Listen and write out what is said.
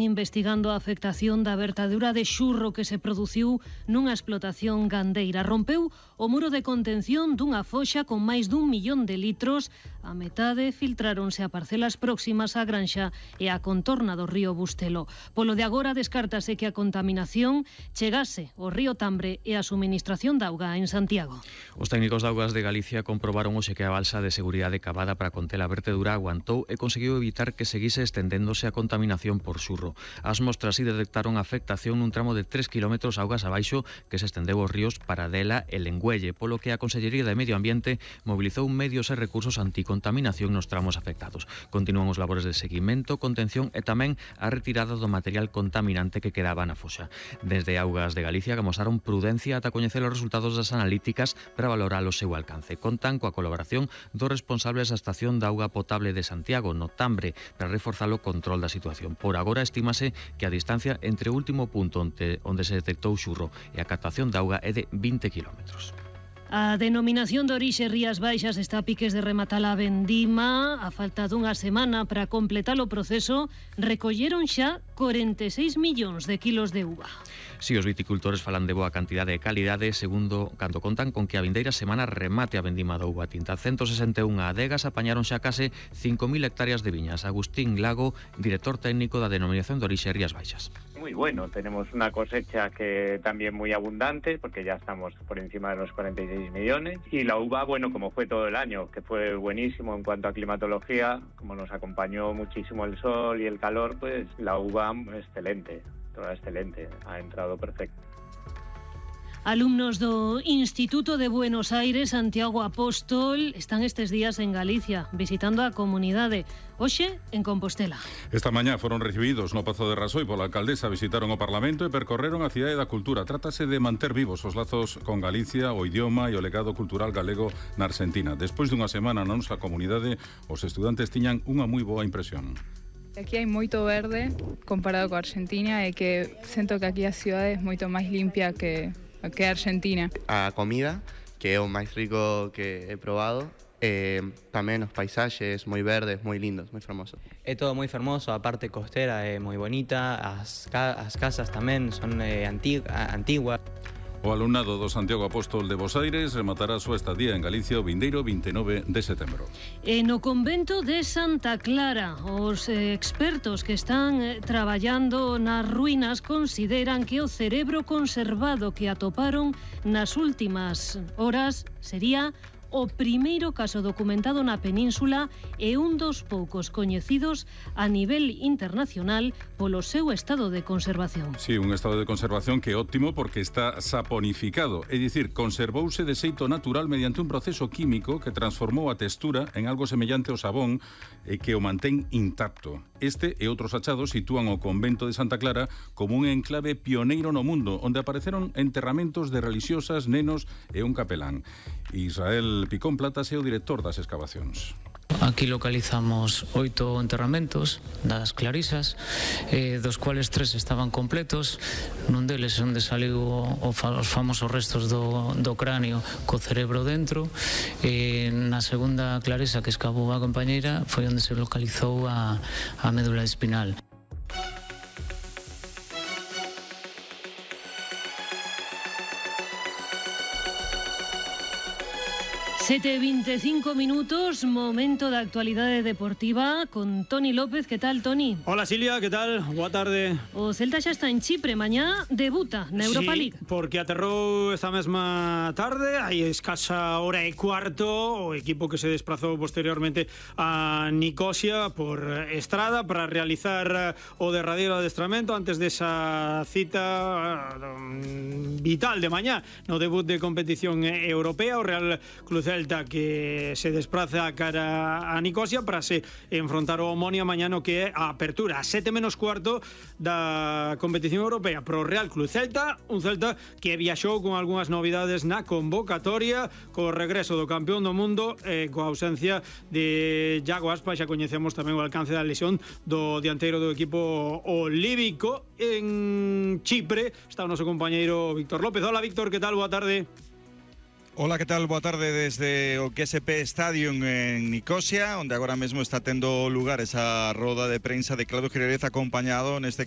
investigando a afectación da vertadura de xurro que se produciu nunha explotación gandeira. Rompeu o muro de contención dunha foxa con máis dun millón de litros. A metade filtráronse a parcelas próximas á granxa e á contorna do río Bustelo. Polo de agora descártase que a contaminación chegase ao río Tambre e a suministración de auga en Santiago. Os técnicos de Augas de Galicia comprobaron hoxe que a balsa de seguridade cavada para conter a vertedura aguantou e conseguiu evitar que seguise estendéndose a contaminación por xurro. As mostras si detectaron afectación nun tramo de 3 km augas abaixo que se estendeu aos ríos Paradela e Lengüelle, polo que a Consellería de Medio Ambiente mobilizou medios e recursos anticontaminación nos tramos afectados. Continúan os labores de seguimento, contención e tamén a retirada do material contaminante que quedaba na foxa. Desde Augas de Galicia amosaron prudencia ata coñecer os resultados das analíticas para valorar o seu alcance. Contan coa colaboración dos responsables da estación de auga potable de Santiago, no Tambre, para reforzar o control da situación. Por agora estímase que a distancia entre o último punto onde se detectou xurro e a captación de auga é de 20 kilómetros. A denominación de orixe Rías Baixas está a piques de rematar a vendima. A falta dunha semana para completar o proceso, recolleron xa 46 millóns de kilos de uva. Si os viticultores falan de boa cantidade e calidade, segundo cando contan con que a vindeira semana remate a vendima da uva tinta. 161 adegas apañaron xa case 5.000 hectáreas de viñas. Agustín Lago, director técnico da denominación de orixe Rías Baixas. Muy bueno, tenemos una cosecha que también muy abundante, porque ya estamos por encima de los 46 millones, y la uva, bueno, como fue todo el año, que fue buenísimo en cuanto a climatología, como nos acompañó muchísimo el sol y el calor, pues la uva excelente, toda excelente, ha entrado perfecto. Alumnos do Instituto de Buenos Aires Santiago Apóstol están estes días en Galicia visitando a comunidade, hoxe en Compostela. Esta mañá foron recibidos no Pazo de Rasoi pola alcaldesa, visitaron o Parlamento e percorreron a cidade da cultura. Trátase de manter vivos os lazos con Galicia, o idioma e o legado cultural galego na Argentina. Despois dunha semana na nosa comunidade, os estudantes tiñan unha moi boa impresión. Aquí hai moito verde comparado coa Argentina e que sento que aquí a cidade é moito máis limpia que Argentina. A comida, que é o máis rico que he probado, tamén os paisaxes moi verdes, moi lindos, moi fermosos. É todo moi fermoso, a parte costera é moi bonita, as casas tamén son antiguas. O alumnado do Santiago Apóstol de Bos Aires rematará a súa estadía en Galicia o vindeiro 29 de setembro. E no convento de Santa Clara, os expertos que están traballando nas ruínas consideran que o cerebro conservado que atoparon nas últimas horas sería o primeiro caso documentado na península e un dos poucos coñecidos a nivel internacional polo seu estado de conservación. Sí, un estado de conservación que é óptimo porque está saponificado, é dicir, conservouse de xeito natural mediante un proceso químico que transformou a textura en algo semellante ao sabón e que o mantén intacto. Este e outros achados sitúan o convento de Santa Clara como un enclave pioneiro no mundo, onde apareceron enterramentos de religiosas, nenos e un capelán. Israel Picón Platas é o director das excavacións. Aquí localizamos 8 enterramentos das clarisas, dos cuales 3 estaban completos. Nun deles onde saliu os famosos restos do cráneo co cerebro dentro. Na segunda clarisa que escavou a compañeira foi onde se localizou a médula espinal. 7:25 minutos, momento da actualidade deportiva con Toni López. Que tal, Toni? Hola, Silvia, que tal? Boa tarde. O Celta xa está en Chipre, mañá debuta na Europa League. Porque aterrou esta mesma tarde, hai escasa hora e cuarto, o equipo que se desplazou posteriormente a Nicosia por estrada para realizar o derradeiro adestramento antes desa cita vital de mañá no debut de competición europea. O Real Club Celta que se despraza cara a Nicosia para se enfrontar o Omonia mañá no que é a apertura a 7:15 da competición europea pro Real Club Celta, un Celta que viaxou con algunhas novidades na convocatoria, co regreso do campeón do mundo e coa ausencia de Iago Aspas. Xa coñecemos tamén o alcance da lesión do dianteiro do equipo olívico. En Chipre está o noso compañeiro Víctor López. Hola, Víctor, que tal? Boa tarde. Hola, que tal? Boa tarde desde o GSP Stadium en Nicosia, onde agora mesmo está tendo lugar esa roda de prensa de Claudio Jerez acompañado, neste caso,